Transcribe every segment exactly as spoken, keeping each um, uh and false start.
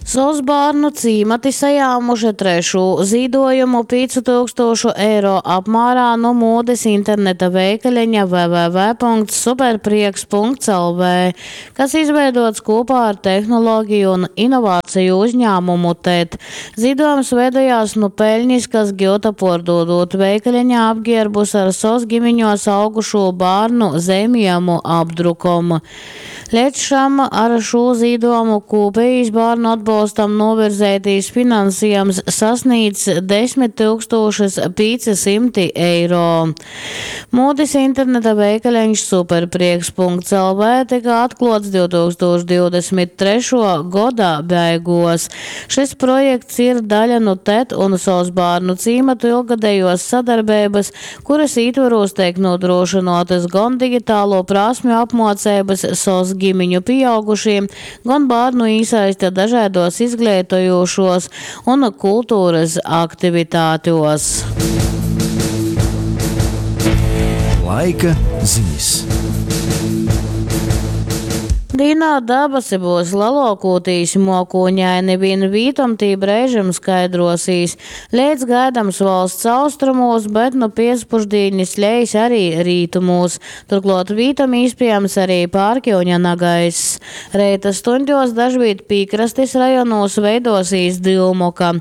S O S bārnu cīmati sajāmuši trešū zīduojumu pīcu tūkstūšu eiro apmārā nu mūdes interneta veikaleņa w w w punkts superprieks punkts l v, kas izveidots kopā ar tehnoloģiju un inovāciju uzņēmumu T E D. Zīdojums veidojās nu peļņas, kas giuta puordūdūt veikaleņā apgierbus ar S O S ģimiņos augušū bārnu zeimiejumu apdrukom. Leidz šam ar šū zīdojumu kopējais bārnu atbolstam novirzeitīs finansējums sasniedz desmit tūkstošus pieci simti eiro. Mūdes interneta veikaleņš superprieks punkts l v tika atklots divtūkstoš divdesmit trešo goda beigos. Šis projekts ir daļa no T E D un S O S bārnu cīmatu ilgadējos sadarbības, kuras ietvaros tiek nodrošinātas gan digitālo prasmju apmācības S O S ģimiņu pieaugušiem, gan bērnu īsaiste dažādos izglītojošos un kultūras aktivitātos. Laika ziņas. Dīnā dabasi būs lielākoties mokūņaini, vien vītom tī brēžam skaidrosīs. Leidz gaidams valsts austrumos, bet nu piespuždīnis lejas arī rītumos. Turklāt vītom iespējams arī pārkiuņa nagaiss. Reita stundos dažvīt pīkrastes rajonos veidosīs dilmoka.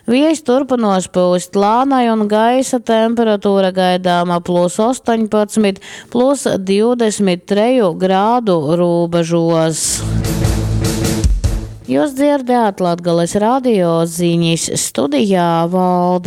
Viejs turpinos pūst lānai un gaisa temperatūra gaidāma plus astoņpadsmit, plus divdesmit treju grādu robežu. Jūs dzirdējāt Latgales radio ziņas studijā Valda.